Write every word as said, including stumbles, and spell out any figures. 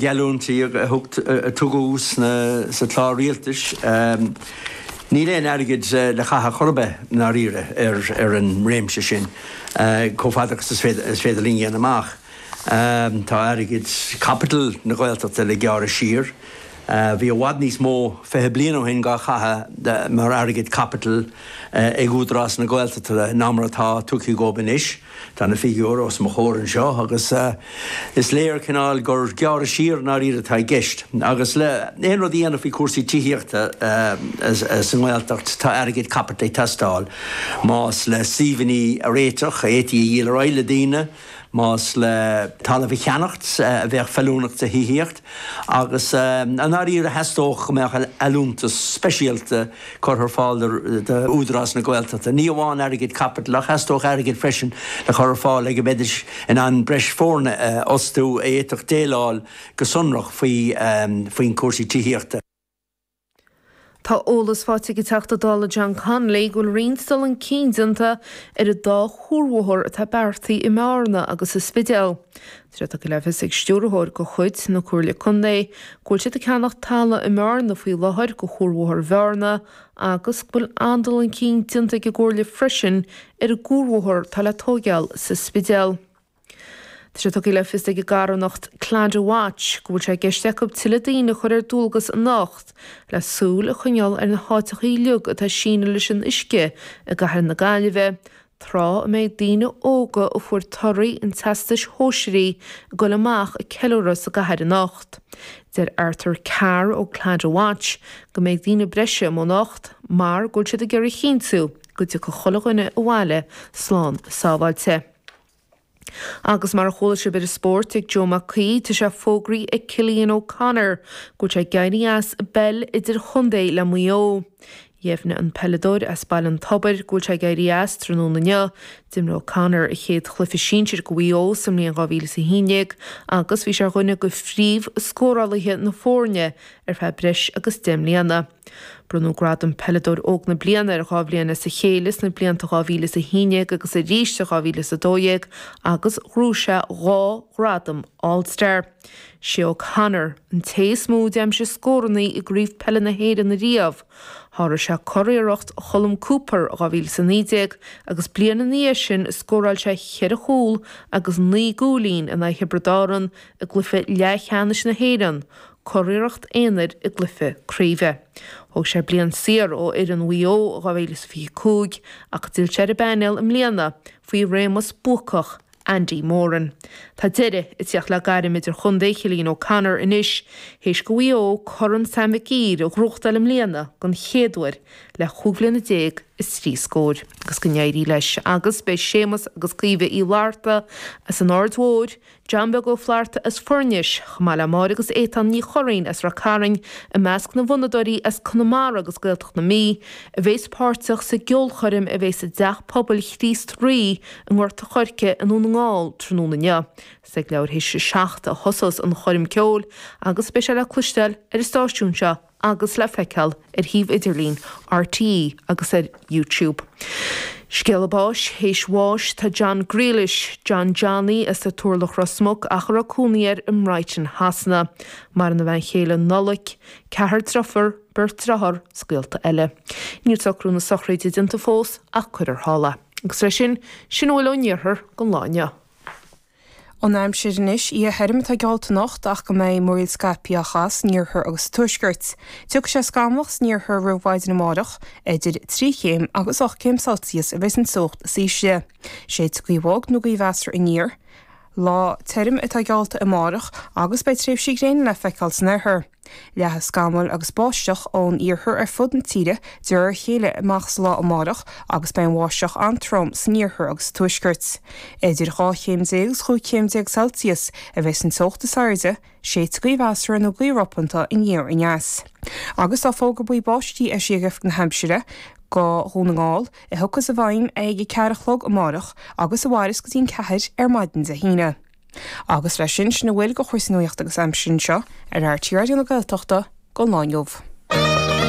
Geallúintí a tugadh sa chlár rialtais, níl aon airgead le caitheamh chor ar bith i ndáiríre ar an réimse sin, chomh fada agus is féidir linn a dhéanamh amach. Tá airgead caipitil na Gaeltachta le gearradh siar. Bhí i bhfad níos mó fiche bliain ó shin dhá chaitheamh mar airgead caipitil ag Údarás na Gaeltachta ná mar atá tugtha dhóibh anois. Tá na figiúir os mo chomhair anseo agus is léir cineál gur gearradh siar i ndáiríre atá i gceist. Agus le aon rud a dhéanamh faoi chúrsaí tithíochta sa nGaeltacht tá airgead caipitil ag teastáil. Más le suíomhanna a réiteach, a fhéadfaí a dhíol ar aghaidh le daoine, más le talamh a cheannacht a bheadh feiliúnach do thithíocht agus i ndáiríre theastódh go mbeadh allúntas speisialta curtha ar fáil d'Údarás na Gaeltachta. Ní amháin airgead caipitil ach theastódh airgead freisin le cur ar fáil le go mbeidís in ann breis foirne a fhostú a fhéadfadh déileáil go sonrach faoi faoin cúrsaí tithíochta. Tá eolas faighte ag an Teachta Dála John Connolly go bhfuil roinnt dul chun cinn déanta ar an dá chuarbhóthar atá beartaithe i mBearna agus sa Spidéal. Tá sé tugtha le fios ag stiúrthóir de chuid na Comhairle Contae go bhfuil siad ag ceannach talamh i mBearna faoi láthair do chuarbhóthar Bhearna agus go bhfuil an-dul chun cinn déanta ag an gComhairle freisin ar an gcuarbhóthar atá le tóigeáil sa Spidéal. Tá sé tugtha le fios ag an gcarthanacht Claddagh Watch go bhfuil sé i gceist acu tuilleadh daoine a chur ar dualgas anocht le súil a choinneáil ar na háiteacha uilig atá sínithe leis an uisce i gcathair na Gaillimhe, tráth a mbeidh daoine óga a fuair torthaí an teastais shóisearaigh ag dul amach ag ceiliúradh sa gcathair anocht. Deir Arthur Carr ó Claddagh Watch go mbeidh daoine breise amuigh anocht mar go bhfuil siad ag iarraidh a chinntiú go dtiocfaidh chuile dhuine abhaile slán sábháilte. Agus mar a chuala sibh ar an spórt ag Joe Mac Aoidh, tá sé fógraithe ag Cillian O'Connor go bhfuil sé ag éirí as an bpeil idirchontae le Maigh Eo. Dheimhnigh an peileadóir as Baile an Tobair go bhfuil sé ag éirí as tráthnóna inniu. D'imir O'Connor a chéad chluiche sinsir do Mhaigh Eo sa mbliain dhá mhíle is a haon déag agus bhí sé ar dhuine de phríomh-scórálaithe na foirne ar feadh breis agus deich mbliana. Bronnadh gradam Peileadóir Óg na Bliana air dhá bhliain as a chéile sna blianta dhá mhíle is a haon déag agus arís i dhá mhíle is a dó dhéag agus ghnóthaigh sé dhá ghradam All Star. Sé O'Connor an té is mó a d'aimsigh scóranna i gCraobh Peile na hÉireann ariamh. Sháraigh sé curiarracht Cholm Cooper i dhá mhíle is a naoi déag agus bliain ina dhiaidh sin scóráil sé cheithre chúl agus naoi gcúilín in aghaidh Thiobraid Árann i gcluiche leathcheannais na hÉireann, curiarracht aonair i gcluiche craoibhe. Thóg sé bliain saor ó fhoireann Mhaigh Eo i dhá mhíle is fiche cúig ach d'fhill sé ar an bpainéal i mbliana faoi réimeas buacach Andy Moran. Tá deireadh ag tíocht le gairm idirchontae Chillian O'Connor anois théis do Mhaigh Eo Corn Sam Mhic Uidhir a ghnóthachtáil i mbliana den chéad uair le chúig bhliana déag is trí scór. Agus go n-éirí leis. Agus beidh Séamus agus Caoimhe Uí Fhlatharta as an Aird Mhóir, John Beag Ó Flatharta as Foirnis, chomh maith le Máire agus Étáin Ní Churraoin as Ráth Cairn, i measc na bhfonnadóirí as Conamara agus Gaeltacht na Mí, a bheas páirteach sa gceolchoirm a bheas i dTeach Pobail Chríost Rí i nGort a' Choirce i nDún na nGall tráthnóna inniu. Is ag leathuair théis a seacht a thosós an choirm ceoil agus beidh sé le cloisteáil ar an stáisiún seo agus le feiceáil ar shuíomh idirlín RTÉ agus ar YouTube. Scéala báis, Théis bháis tá John Grealish, John Johnny as an Turlach Ros Muc ach a raibh cónaí air i mBrighton Shasana. Maireann a bhean chéile Nollaig, ceathrar deirfiúr, beirt dearthár 's gaolta eile. Níl socrú na sochraide déanta fós ach cuirfear thall é. Agus leis sin, sin a bhfuil ón iarthar don lá inniu. An aimsir anois, oíche thirim atá geallta anocht ach go mbeidh múraíl scaipthe á chaitheamh san iarthar agus sa tuaisceart. Tiocfaidh sé scamallach san iarthar roimh mhaidin amárach, idir trí chéim agus ocht gcéim Celsius a bheas an teocht is ísle. Séidfidh gaoth bhog nó gaoth mheasartha aniar. Lá tirim atá geallta amárach agus beidh tréimhsí gréine le feiceáil san oirthear. Leathfaidh scamaill agus báisteach ón iarthar ar fud na tíre de réir a chéile amach sa lá amárach agus beidh an bháisteach an-trom san iarthar agus sa tuaisceart. Idir dhá chéim déag agus chúig chéim déag Celsius a bheas an teocht is airde, séidfidh gaoth mheasartha nó gaoth ropanta aniar aneas. Agus tá fógra buí báistí eisithe ag Oifig na hAimsire do Dhún na nGall, a thiocfas i bhfeidhm ag a ceathair a chlog amárach agus a mhairfeas go dtí an ceathair ar maidin Dé hAoine. Agus leis sin, sin a bhfuil de chúrsaí nuachta agus aimsire anseo ar RTÉ Raidió na Gaeltachta don lá inniu.